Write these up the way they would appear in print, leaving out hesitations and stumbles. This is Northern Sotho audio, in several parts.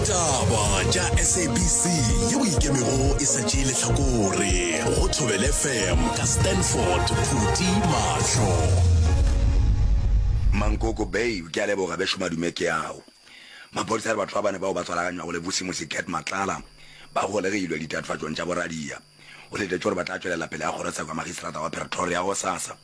Ditaba tša SABC yeo ikemego e sa tšee lehlakore go Thobela FM ka Stanford Phuti Mahlo. Mankoko Bay, Ke a leboga bešo madume ke ao. Maphodisa a re batho ba bane bao ba tswalaganywago le Vusimusi Cat Matlala ba golegilwe ditatofatšong tša boradia. O letetše gore ba tla tšwelela pele ga kgorotsheko ya magistrata wa Pretoria gosasa.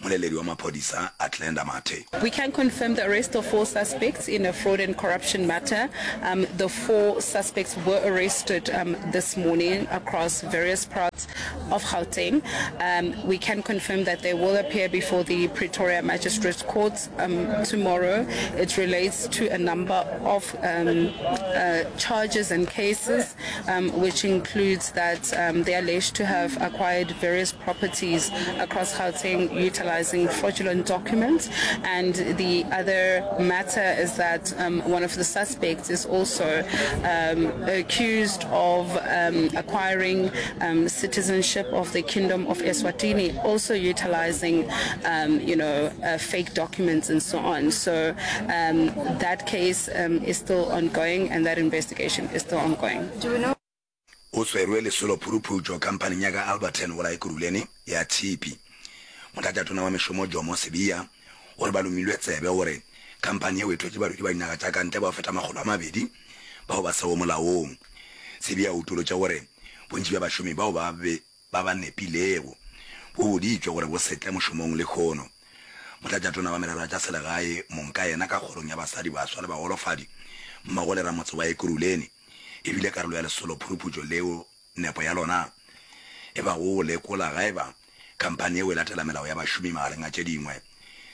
Moleledi wa maphodisa Atlenda Mathe. We can confirm the arrest of four suspects in a fraud and corruption matter. Um, the four suspects were arrested um, this morning across various parts of Gauteng. Um, we can confirm that they will appear before the Pretoria Magistrates Court um, tomorrow. It relates to a number of um, uh, charges and cases, um, which includes that um, they are alleged to have acquired various properties across Gauteng utilizing fraudulent documents. And the other matter is that um, one of the suspects is also um, accused of um, acquiring um, citizenship of the Kingdom of Eswatini, also utilizing, um, you know, uh, fake documents and so on. So um, that case um, is still ongoing and that investigation is still ongoing. Do we know? O swerwe lesolo phuruphutšo khamphaning ya ka Alberton go la Ekurhuleni ya tshipi. Motlatšatona wa mešomo Jomo Sibiya o re ba lomilwe tsebe gore khamphani yeo e thwetše badudi ba dinaga tša ka ntle bao feta 200 bao ba sego molaong. Sibiya o utolotše gore bontši bja bašomi bao ba be ba ba nepilego bo boditšwe gore bo se tle mošomong lehono. Motlatšatona wa merero ya tša selegae mongkayena ka kgorong ya basadi, baswa le bagolofadi mmogo le ramotse wa Ekurhuleni e bile karolo ya lesolo phuruphutšo leo nepo ya lona e bago go lekola ga eba khamphani yeo e latela melao ya bašomi magareng a tše dingwe,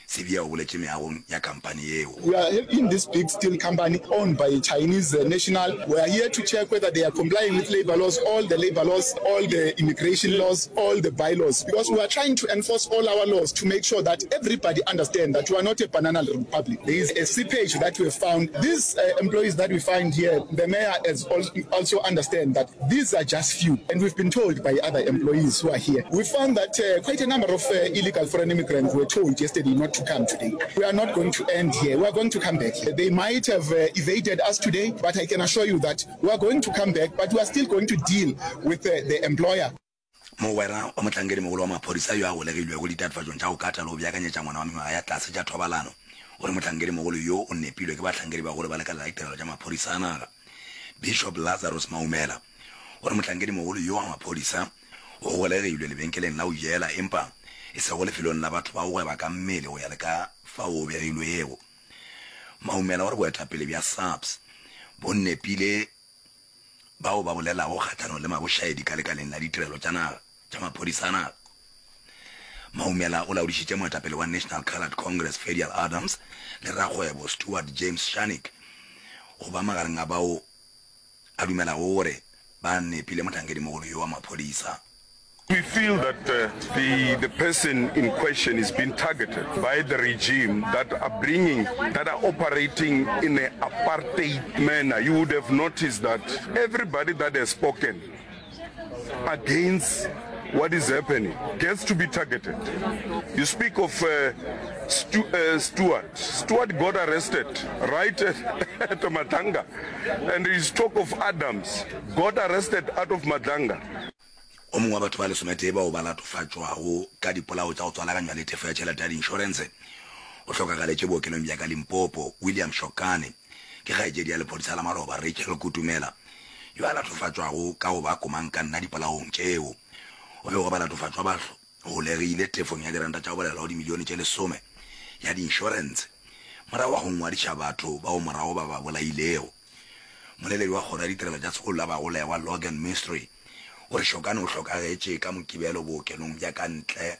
Sibiya o boletše meagong ya khamphani yeo. We are in this big steel company owned by a Chinese national. We are here to check whether they are complying with labour laws, all the labour laws, all the immigration laws, all the bylaws, because we are trying to enforce all our laws to make sure that everybody understand that we are not a banana republic. There is a seepage that we have found. These employees that we find here, the mayor has also understand that these are just few, and we've been told by other employees who are here. We found that quite a number of illegal foreign immigrants were told yesterday not to come today. We are not going to end here. We are going to come back. They might have evaded us today, but I can assure you that we are going to come back, but we are still going to deal with the employer. Mogwera wa mohlankedimogolo wa maphodisa yo a golegilwego ditatofatšong tša go kata le go beakanyetša ngwana wa mengwaga ya tlase tša thobalano o re mohlankedimogolo yo o nepilwe ke bahlankedibagolo ba lekala la ditirelo tša maphodisa a naga. Bishop Lazarus Maumela o re mohlankedimogolo yo wa maphodisa o golegilwe lebenkeleng la go jela empa e sego lefelong la batho ba go gweba ka mmele go ya le ka fao o begilwego. Maumela o re boetapele bja SAPS bo nepile bao ba bolelago kgahlanong le mabošaedi ka lekaleng la ditirelo tša naga tša maphodisa a naga. Maumela o laodišitše moetapele wa National Coloured Congress Ferdial Adams le rakgwebo Stuart James Scharnick go ba magareng a bao a dumelago gore ba nepile mohlankedimogolo yo wa maphodisa. We feel that the the person in question is being targeted by the regime that are bringing that are operating in a apartheid manner. You would have noticed that everybody that has spoken against what is happening gets to be targeted. You speak of uh, Stu, uh, Stuart. Stuart got arrested right at, at Madlanga. And you talk of Adams, got arrested out of Madlanga. O mongwe wa batho ba lesometee bao ba latofatšwago ka dipolao tša go tswalaganywa le tefo ya tšhelete ya diinšorense o hlokagaletše bookelong bja ka Limpopo. William Shokane ke kgaetšedi ya lephodisa la maloba Rachel Kutumela yo a latofatšwago ka go ba komangkanna dipolaong tšeo. O begwa balatofatšwa ba holegile tefong ya diranta tša go balelwa go dimilione tše lesome ya diinšorense morago ga go ngwadiša batho bao morago ba ba bolailego. Moleledi wa Kgoro ya Ditirelo tša Sekolo la Bagolegwa Logan Mistry o re Shokane o hlokagetše ka Mokibelo bookelong bja ka ntle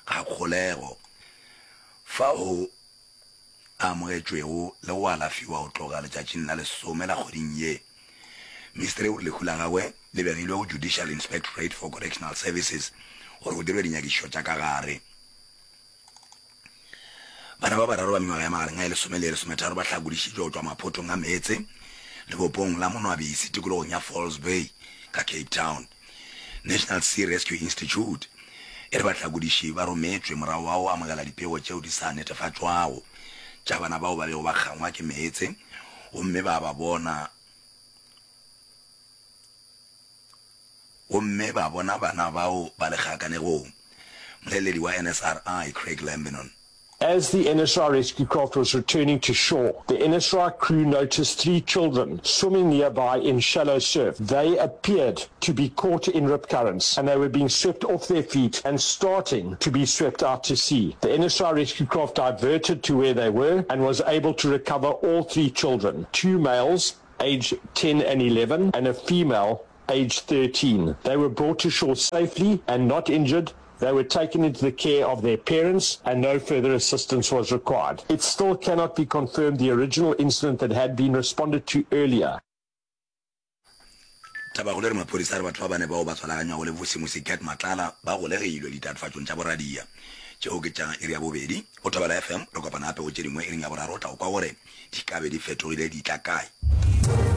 ga kgolego fao a amogetšwego le go alafiwa go tloga letšatšing la lesome la kgweding ye. Mistry o re lehu la gagwe le begilwe go Judicial Inspectorate for Correctional Services gore go dirwe dinyakišišo tša ka gare. Bana ba bararo ba mengwaga ya magareng a e lesome le e lesometharo ba hlakodišitšwe go tšwa maphothong a meetse lebopong la Monwabisi tikologong ya False Bay ka Cape Town. National Sea Rescue Institute e re bahlakodiši ba rometšwe morago ga go amogela dipego tšeo di sa netefatšwago tša bana bao ba bego ba kgangwa ke meetse gomme ba ba bona. gomme ba bona bana bao ba le kgakanegong. Moleledi wa NSRI, Craig Lambinon. As the NSRI rescue craft was returning to shore, the NSRI crew noticed three children swimming nearby in shallow surf. They appeared to be caught in rip currents and they were being swept off their feet and starting to be swept out to sea. The NSRI rescue craft diverted to where they were and was able to recover all three children, two males aged 10 and 11 and a female aged 13. They were brought to shore safely and not injured. They were taken into the care of their parents and no further assistance was required. It still cannot be confirmed the original incident that had been responded to earlier. Tabakgolo e re maphodisa a re batho ba bane bao ba tswalaganywago le Vusimusi Cat Matlala ba golegilwe ditatofatšong tša boradia. Tšeo ke tša iri ya bobedi. Go Thobela FM, re kopana gape go tše dingwe iring ya boraro o tla go kwa gore di ka be di fetogile di tla kae.